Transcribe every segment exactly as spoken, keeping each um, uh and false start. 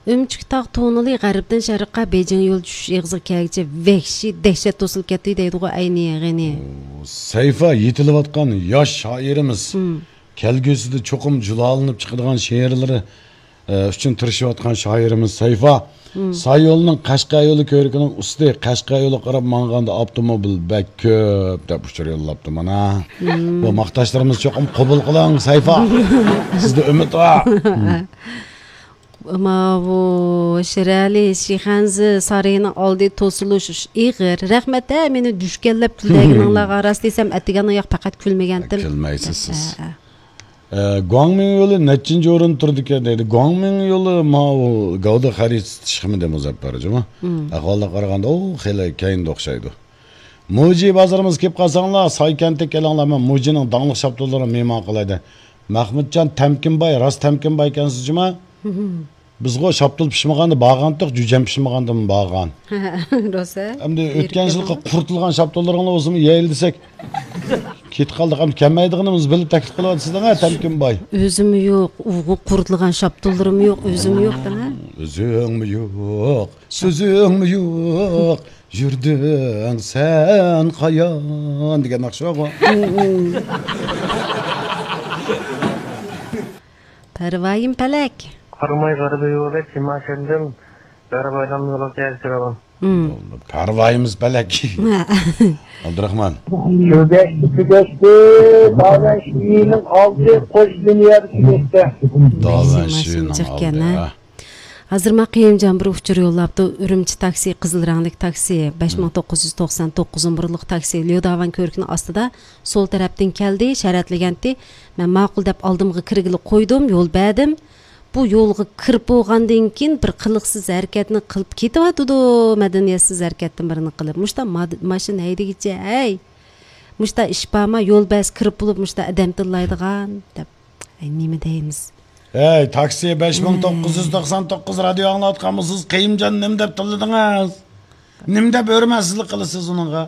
ئۈمچۈك تاغ توننېلى غەربتىن شەرققە بېيجىڭ يول چۈشۈش ئېغىزىغا كەلگۈچە ۋەھشىي دەھشەت توسۇلۇپ كەتتى دەيدىغۇ ئەينى غېنى. سەيفا يېتىلىۋاتقان ياش شائىرىمىز. كەلگۈسىدە چوقۇم جۇلالىنىپ چىقىدىغان شېئىرلىرى، ئە، ئۈچۈن تىرىشىۋاتقان شائىرىمىز سەيفا. ساي يولىنىڭ قەشقەر يولى كۆۋرۈكىنىڭ ئۈستى، قەشقەر يولىغا قاراپ ماڭغاندا ئاپتوموبىل بەك كۆپ دەپ ئۇچۇر يوللاپتۇ مانا. بۇ ماختاشلىرىمىز چوقۇم قوبۇل قىلىڭ سەيفا. سىزدە ئۈمىد بار. ماۋۇ شىرئەلى شىخەنزە سارىيىنىڭ ئالدى توسۇلۇش ئېغىر. رەھمەت ھە، مېنى دۈشكەنلەپ كۈلدۈرگىنىڭلارغا. راست دېسەم، ئەتىگەن ئاياق پەقەت كۈلمىگەنتىم. كۈلمەيسىز سىز. ھە، ھە. ئە، گۇاڭمىڭ يولى نەچچىنچى ئورۇندا تۇرىدىكەن دەيدۇ. گۇاڭمىڭ يولى ماۋۇ گەۋدە خەرىجى سېتىشقىمۇ دېمۇ زەپەر جۇما. ئەھۋالغا قارىغاندا ئۇ خېلى كەينىدە ئوخشايدۇ. موجى بازىرىمىزغا كېلىپ قالساڭلار، ساي كەنتىگە كېلىڭلار، مەن موجىنىڭ داڭلىق شاپتۇللىرىغا مېھمان قىلاي دەي. مەخمۇتجان تەمكىنباي، راست تەمكىنبايكەنسىز جۇما. بىزغۇ شاپتۇل پىشمىغاندا بارغانتۇق، جۈجەم پىشمىغاندىمۇ بارغان. روسە. ئەمدى ئۆتكەن يىلقى قۇرۇتۇلغان شاپتۇللىرىڭلار بولسىمۇ يەيلى دېسەك، كېتىپ قالدۇق. ئەمدى كەلمەيدىغىنىمىز بىللە تەكلىپ قىلىۋاتىسىز دەڭە، تەمكىنباي. ئۆزۈممۇ يوق، ئۇ قۇرۇتۇلغان شاپتۇللىرىممۇ يوق، ئۆزۈممۇ يوق دەڭە. ئۆزۈڭمۇ يوق، سۆزۈڭمۇ يوق، يۈردۈڭ سەن قايان دېگەن ناخشا بارغۇ. پەرۋايىم پەلەك. قاراماي غەربىي يولى، تىماشەندىن غەربىي ئايلانما يولىغا كەلسىلەر. پەرۋايىمىز پەلەك. ئابدۇراخمان. يۈرگەچتى، تۈگەشتى، داۋەن شىۋىنىڭ ئالدى، قوش دۇنيادا تۈگەشتى. داۋەن شىۋىنىڭ ئالدى. ھازىر ماڭا قېيۇمجان بىر ئۇچۇر يوللاپتۇ. ئۈرۈمچى تاكسى، قىزىل رەڭلىك تاكسى، بەش مىڭ توققۇز يۈز توقسان توققۇز نومۇرلۇق تاكسى ليوداۋان كۆۋرۈكىنىڭ ئاستىدا سول تەرەپتىن كەلدى، شەرەتلىگەنتى. مەن ماقۇل دەپ ئالدىمغا كىرگىلى قويدۇم، يول بەردىم. بۇ يولغا كىرىپ بولغاندىن كېيىن بىر قىلىقسىز ھەرىكەتنى قىلىپ كېتىۋاتىدۇ، مەدەنىيەتسىز ھەرىكەتنى بىرنى قىلىپ. مۇشتا ماد-، ماشىنا ھەيدىگىچە، ھەي! مۇشتا ئىش بارما؟ يول بەرسە كىرىپ بولۇپ مۇشتا ئادەم تىللايدىغان دەپ. ئەي، نېمە دەيمىز؟ ھەي، تاكسى بەش مىڭ توققۇز يۈز توقسان توققۇز رادىيو ئاڭلاۋاتقان بولسىڭىز، قېيۇمجان نېمە دەپ تىللىدىڭىز؟ نېمە دەپ ھۆرمەتسىزلىك قىلىسىز ئۇنىڭغا؟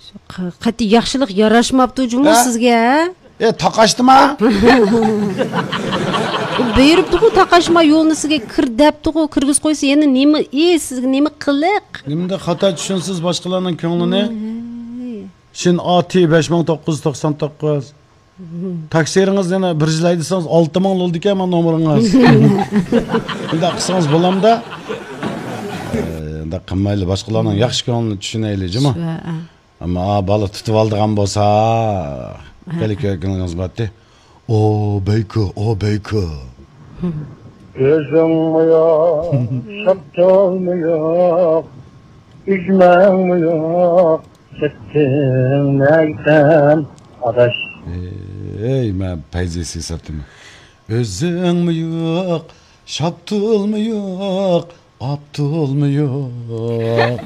شۇ ق-، قەتئىي ياخشىلىق ياراشماپتۇ جۇمۇ ھە؟ سىزگە، ھە؟ ئە، تاقاشتىما؟ بۇيرۇپتۇغۇ تاقاشما، يولنى سىزگە كىر دەپتۇغۇ، كىرگۈزۈپ قويسا يەنە نېمە ئىش، سىزگە نېمە قىلىق؟ نېمىنداق خاتا چۈشىنىسىز باشقىلارنىڭ كۆڭلىنى؟ ھەي. شىن ئا تى بەش مىڭ توققۇز يۈز توقسان توققۇز. تاكسىرىڭىز يەنە بىر يىل ھەيدىسىڭىز ئالتە مىڭ بولىدىكەن مانا نومۇرىڭىز. ئۇنداق قىلسىڭىز بولامدا؟ ئە، ئۇنداق قىلمايلى، باشقىلارنىڭ ياخشى كۆڭلىنى چۈشىنەيلى، جۇمۇ. شۇ، ئە. ئەمما، ئا، بالا تۇتۇۋالىدىغان بولسا، ھە، خېلى ھە. كۆرگىنىڭىز بارتى. ئو بەيكۇ، ئو بەيكۇ. ئۆزۈڭمۇ يوق، شاپتۇلمۇ يوق، ئۈجمەڭمۇ يوق، كەتتىڭ نەگىسەن، ئاداش. ئەي، مەن پەيزى سىيساتتىمەن. ئۆزۈڭمۇ يوق، شاپتۇلمۇ يوق، ئاپتولمۇ يوق.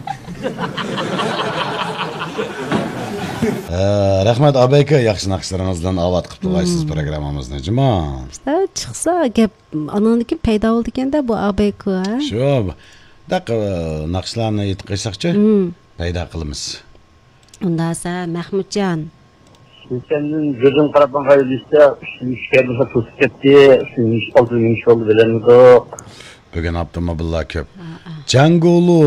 ھە، رەھمەت، ئابەيكا، ياخشى ناخشىلىرىڭىز بىلەن ئاۋات قىلىپ تۇرغايسىز پروگراممىمىزنى، جۇما. ئىشتە چىقسا گەپ، ئانىڭدىن كېيىن پەيدا بولىدىكەن-دە بۇ ئابەيكا، ھە؟ شۇ، دەق، ناخشىلارنى ئېيتىپ قويساقچۇ، پەيدا قىلىمىز. ئۇنداسا، مەخمۇتجان. سەندىن كۆزۈم قاراپ ماڭغان يۈرۈشتە، ئۈستىمىز كەلمىسە توسۇپ كەتتى، ئۈستىمىز ئالدى نېمە ئىش بولدى بىلەلمىدۇق. بۈگۈن ئاپتوموبىللار كۆپ. ھە، ھە. جەڭگۇلۇ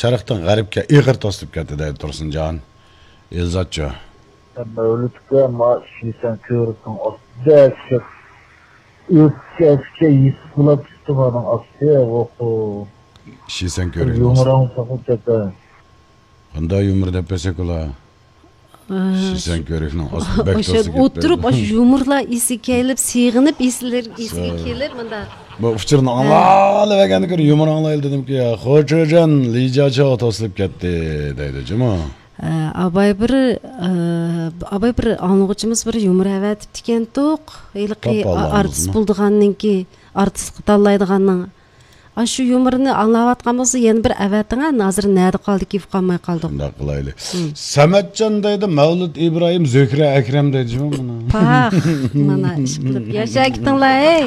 شەرقتىن غەربكە ئېغىر توسۇلۇپ كەتتى دەيدۇ تۇرسۇنجان. ئېلزاتچۇ. مەۋلۇتكە ما شىسەن كۆۋرۈكنىڭ ئاستىدا ئۆتكەچكە يېتىپ بولۇپ چىقتى مانىڭ ئاستى، ئوھو. شىسەن كۆۋرۈكنىڭ ئاستى. يۇمۇرۇڭ سوقۇپ كەتتى. قانداق يۇمۇر دەپ بەرسەك ئۇلار؟ ئە، شىسەن كۆۋرۈكنىڭ ئاستى بەك ئاشۇ توسۇپ كەتتى. ئولتۇرۇپ، ئاشۇ يۇمۇرلار ئېسىگە كېلىپ، سېغىنىپ، ئېسلىرى ئېسىگە كېلىپ، مۇنداق. بۇ ئۇچۇرنى ئاڭلاۋەرگەندىن كۆرە يۇمۇر ئاڭلايلى دېدىمكى، يا، خوچۇجان لىجاچو توسۇلۇپ كەتتى دەيدۇ جۇمۇ. ئە، ئاباي بىر، ئە، ئاباي بىر ئاڭلىغۇچىمىز بىر يۇمۇر ئەۋەتىپتىكەنتۇق. ھېلىقى تاپالامىزمۇ؟ ئارتىس بولىدىغاننىڭكى، ئارتىسقا تاللايدىغاننىڭ. ئاشۇ يۇمۇرنى ئاڭلاۋاتقان بولسا، يەنە بىر ئەۋەتىڭە، ھازىر نەدە قالدىكى، ئۇقالماي قالدۇق. شۇنداق قىلايلى. سەمەتجان دەيدۇ، مەۋلۇت ئىبراھىم، زۆھرە ئەكرەم دەيدۇ جۇمۇ مانا. پاخ، مانا ئىش قىلىپ ياشا كېتىڭلار، ھەي.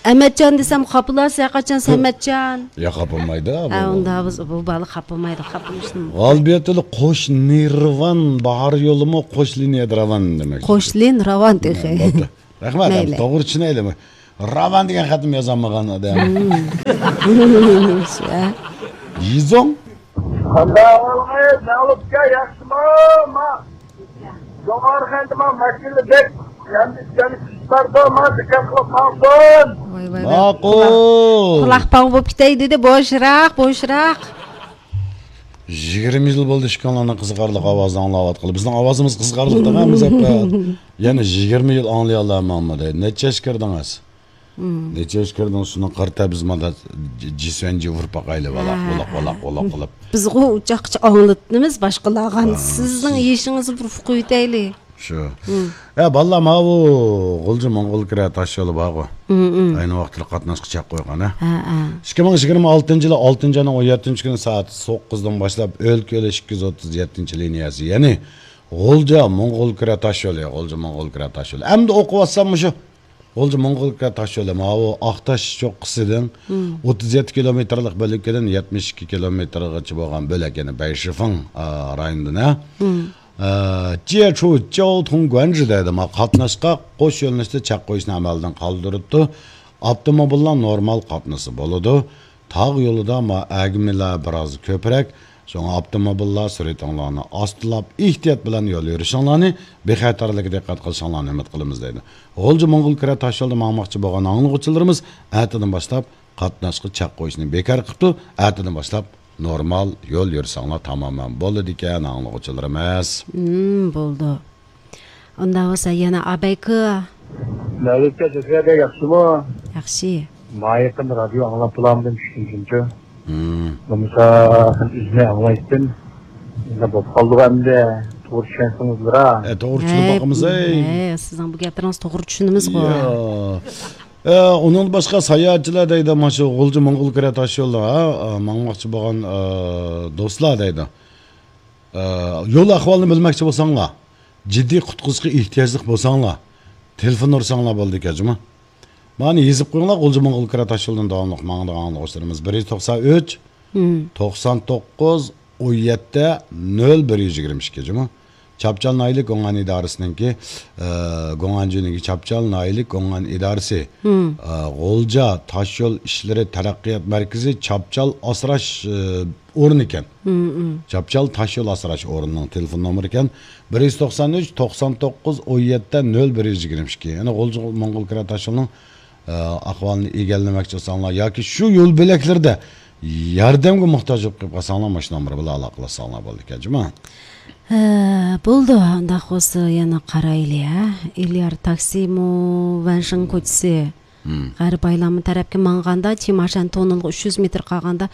ئەمەتجان دېسەم خاپىلاسىز، ھەرقاچان سەمەتجان. يا، خاپىلمايدۇ، ھە، بۇ. ئۇنداق بولسا بۇ بالا خاپىلمايدۇ، خاپىلىشىدىن. غالىبىيەتلى قوش نىرۋان، باھار يولىمۇ قوش لىنىيەدە راۋان دېمەك. قوش لىن راۋان تېخى. بوپتۇ. رەھمەت، مەيلى. توغرا چۈشىنەيلى. راۋان دېگەن خەتمۇ يازالمىغان ئادەم. شۇ. يىزوڭ. قانداق ئەھۋالىڭىز، مەغلۇپ ئاكا، ياخشىمۇ؟ ما، جوڭغارخاندا ما ماشىنا بەك ياندى، ياندى باردا، ما دىققەت قىلىپ ماڭسۇن. ۋاي، ۋاي، ۋاي. ماقۇل. قۇلاق، قۇلاق پاڭ بولۇپ كېتەي دېدى، بوشراق، بوشراق. يىگىرمە يىل بولدى ئىككىڭلارنىڭ قىزىقارلىق ئاۋازىنى ئاڭلاۋاتقىلى. بىزنىڭ ئاۋازىمىز قىزىقارلىق دەڭە، بىز ھەپتە يەنە يىگىرمە يىل ئاڭلىيالامامدى. نەچچە ياشقا كىردىڭىز؟ مم. نەچچە ياشقا كىردىڭىز؟ شۇنىڭغا قارىتا بىز مانا ج-، جىسۋەنجى ئۇرۇپ باقايلى، ۋالاق، ھە، ۋالاق، ھە. ۋالاق، ۋالاق قىلىپ. بىزغۇ ئۇچاققىچە ئاڭلىتىمىز باشقىلارغا. ھە، سىزنىڭ سىز يېشىڭىزنى بىر ئۇقۇۋېتەيلى. شۇ. مم. ھە، بالىلار، ماۋۇ غۇلجا موڭغۇلكۈرە تاش يولى بارغۇ. مم، مم. ئەينى ۋاقىتتا قاتناشقا چەك قويغان، ھە؟ ھە، ھە. ئىككى مىڭ يىگىرمە ئالتىنچى يىلى ئالتىنچى ئاينىڭ ئون يەتتىنچى كۈنى سائەت توققۇزدىن باشلاپ ئۆلكە يولى ئىككى يۈز ئوتتۇز يەتتىنچى لىنىيەسى، يەنى غۇلجا موڭغۇلكۈرە تاش يولى، غۇلجا موڭغۇلكۈرە تاش يولى. ئەمدى ئوقۇۋاتسام مۇشۇ غۇلجا موڭغۇلكۈرە تاش يولى، ماۋۇ ئاقتاش چوققىسىدىن مم. ئوتتۇز يەتتە كىلومېتىرلىق بۆلەككىدىن يەتمىش ئىككى كىلومېتىرغىچە بولغان بۆلەك، يەنى بەيشىفېڭ، ئا، رايونىدىن، ھە؟ مم. ئە، جيەچۇ جياۋتۇڭ گۇەنجى دەيدۇ، ما قاتناشقا قوش يۆنىلىشتە چەك قويۇشنى ئەمەلدىن قالدۇرۇپتۇ. ئاپتوموبىللار نورمال قاتنىسا بولىدۇ. تاغ يولىدا ما ئەگمىلەر بىراز كۆپرەك. شۇڭا ئاپتوموبىللار سۈرئىتىڭلارنى ئاستىلاپ، ئېھتىيات بىلەن يول يۈرۈشۈڭلارنى، بىخەتەرلىككە دىققەت قىلىشىڭلارنى ئۈمىد قىلىمىز دەيدۇ. غۇلجا موڭغۇلكۈرە تاش يولىدا ماڭماقچى بولغان ئاڭلىغۇچىلىرىمىز ئەتىدىن باشلاپ قاتناشقا چەك قويۇشنى بىكار قىپتۇ. ئەتىدىن باشلاپ نورمال يول يۈرسەڭلار تامامەن بولىدىكەن، ئاڭلىغۇچىلىرىمىز. مم، بولدى. ئۇنداق بولسا يەنە ئابەيكۇ. نەۋىتكە زۆھرە بەگ ياخشىمۇ؟ ياخشى. ما يېقىندا رادىيو ئاڭلاپ بولامدىم چۈشتىن كېيىنچۇ؟ مم. بولمىسا ئۈزمەي ئاڭلايتتىم. ئەمدى بولۇپ قالدىغۇ ئەمدى. توغرا چۈشەنسىڭىزلىرا. ئە، توغرا چۈشىنىپ باقىمىز، ئەي. ئە، سىزنىڭ بۇ گەپلىرىڭىزنى توغرا چۈشىنىمىزغۇ. يا. ئە، ئۇنىڭدىن باشقا ساياھەتچىلەر دەيدۇ، مانا شۇ غۇلجا موڭغۇلكۈرە تاش يولىدا، ھە، ماڭماقچى بولغان، ئە، دوستلار دەيدۇ. ئە، يول ئەھۋالىنى بىلمەكچى بولساڭلار، جىددىي قۇتقۇزۇشقا ئېھتىياجلىق بولساڭلار، تېلېفون ئۇرساڭلار بولىدىكەن جۇمۇ. مانا يېزىپ قويۇڭلار، غۇلجا موڭغۇلكۈرە تاش يولىدىن داۋاملىق ماڭىدىغان ئاڭلىغۇچىلىرىمىز. بىر يۈز توقسان ئۈچ، مم. توقسان توققۇز، ئون يەتتە، نۆل بىر يۈز يىگىرمە ئىككى جۇمۇ. چاپچال ناھىيەلىك گوڭئەن ئىدارىسىنىڭكى، ئە، گوڭئەنجۈنىڭكى چاپچال ناھىيەلىك گوڭئەن ئىدارىسى، مم. ئە، غۇلجا تاشيول ئىشلىرى تەرەققىيات مەركىزى چاپچال ئاسراش، ئە، ئورنى ئىكەن. مم، مم. چاپچال تاشيول ئاسراش ئورنىنىڭ تېلېفون نومۇرى ئىكەن. بىر يۈز توقسان ئۈچ، توقسان توققۇز، ئون يەتتە، نۆل بىر يۈز يىگىرمە ئىككى. يەنى غۇلجا موڭغۇلكۈرە تاشيولىنىڭ ئە، ئەھۋالىنى ئىگىلىمەكچى بولساڭلار ياكى شۇ يول بۆلەكلىرىدە ياردەمگە موھتاج بولۇپ قېلىپ قالساڭلار، ماشۇ نومۇر بىلەن ئالاقىلەشسەڭلار بولىدىكەن جۇمۇ. ھە، بولدى، ئۇنداق بولسا يەنە قارايلى، ھە. ئىليار تاكسىمۇ، ۋەنشىڭ كوچىسى. مم. غەربىي ئايلانما تەرەپكە ماڭغاندا، چىماشان توننېلغا ئۈچ يۈز مېتىر قالغاندا،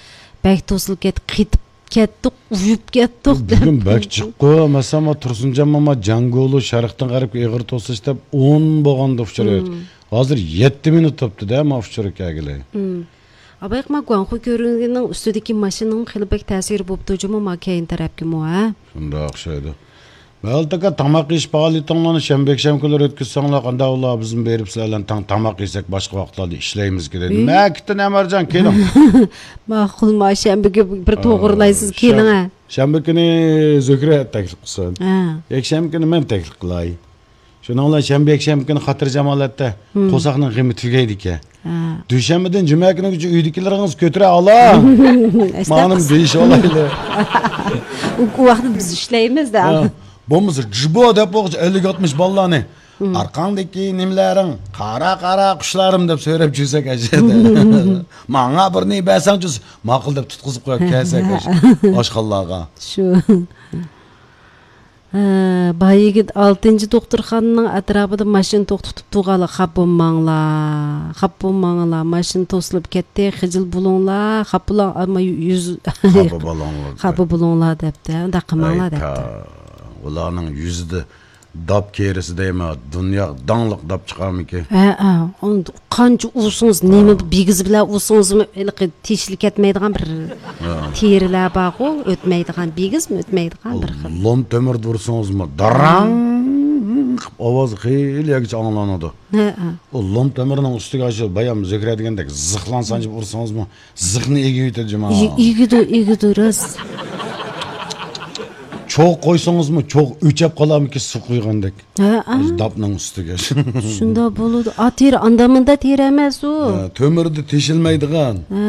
بەك توسۇلۇپ كەتتى، قېتىپ كەتتۇق، ئۇيۇپ كەتتۇق بۈگۈن دەپ. بەك جىققۇ، مەسىلەن، ما تۇرسۇنجان ماما جاڭگولۇ شەرقتىن غەربكە ئېغىر توسۇلۇش دەپ ئون بولغاندا ئۇچۇر. مم. ھازىر يەتتە مىنۇت بوپتۇ-دە، ما ئۇچۇر كەلگىلى. مم. ئابايقما گۇاڭخۇ كۆۋرۈكىنىڭ ئۈستىدىكى ماشىنىنىڭ خېلى بەك تەسىرى بوپتۇ جۇمۇ، ما كەينى تەرەپكىمۇ، ھە؟ شۇنداق ئوخشايدۇ. مەلىك ئاكا، تاماق يېيىش پائالىيىتىڭلارنى شەنبە، يەكشەنبە كۈنلىرى ئۆتكۈزسەڭلار قانداق بولار؟ بىزمۇ بېرىپ سىلەر بىلەن تەڭ تاماق يېسەك، باشقا ۋاقىتلاردا ئىشلەيمىزكى دەيدۇ. ئى؟ مەكىتتىن ئەمەرجان، كېلىڭ. ماقۇل، ما شەنبە كۈنى بىر توغرىلايسىز، ئا، كېلىڭ، شەن-، ھە. شەنبە كۈنى زۆھرە تەكلىپ قىلسۇن. ھە. يەكشەنبە كۈنى مەن تەكلىپ قىلاي. شۇنىڭ بىلەن شەنبە، يەكشەنبە كۈنى خاتىرجامالەتتە مم. قورساقنىڭ غېمى تۈگەيدىكەن. ھە. دۈشەنبىدىن جۈمە كۈنىگىچە ئۆيدىكىلىرىڭىز كۆتۈرە ئالا. مانىمۇ دېيىشىۋالايلى. ئۇ، ئۇ ۋاقىتتا بىز ئىشلەيمىز-دە. ھە. بولمىسا، جىبو دەپ بولغۇچە ئەللىك ئاتمىش بالىلارنى. مم. ئارقاڭدىكى نېمىلەرىڭ، قارا، قارا قۇشلارىم دەپ سۆرەپ جۈرسەك ئەجەدە. ماڭا بىرنى بەرسەڭچۇ، ماقۇل دەپ تۇتقۇزۇپ قويۇپ كەلسەك ئاش-، ئاشخانىلارغا. شۇ. ھە، باي يىگىت ئالتىنچى دوختۇرخانىنىڭ ئەتراپىدا ماشىنا توختىتىپ تۇرغانلار، خاپا بولماڭلار، خاپا بولماڭلار، ماشىنا توسۇلۇپ كەتتى، خىجىل بولۇڭلار، خاپا بولۇڭ، ئەمما يۈز، خاپا بولۇڭلار. خاپا بولۇڭلار دەپتۇ، ئۇنداق قىلماڭلار ئەي دەپتۇ. تا، ئۇلارنىڭ يۈزىدە داپ كېرىسى دەيمەن، دۇنياغا داڭلىق داپ چىقارمىكىن؟ ھە، ھە، ئۇنى قانچە ئۇرسىڭىز، نېمە بىگىز بىلەن ئۇرسىڭىزمۇ، ھېلىقى تېشىلىپ كەتمەيدىغان بىر ھە. تېرىلەر بارغۇ، ئۆتمەيدىغان، بىگىزمۇ ئۆتمەيدىغان بىر خىل. لوم تۆمۈردە ئۇرسىڭىزمۇ، داراڭ قىلىپ ئاۋازى خېلى يەرگىچە ئاڭلىنىدۇ. ھە، ھە. ئۇ لوم تۆمۈرنىڭ ئۈستىگە ئاشۇ بايام زۆھرە دېگەندەك زىخلان سانجىپ ئۇرسىڭىزمۇ، زىخنى ئېگىۋېتىدۇ جۇما. ئېگى-، ئېگىدۇ، ئېگىدۇ، راست. چوغ قويسىڭىزمۇ، چوغ ئۆچەپ قالارمىكىن سۇ قۇيغاندەك. ھە، ئا. داپنىڭ ئۈستىگە. شۇنداق بولىدۇ. ئا، تېرە، ئاندا مۇندا تېرە ئەمەس ئۇ. ھە، تۆمۈردە تېشىلمايدىغان. ھە.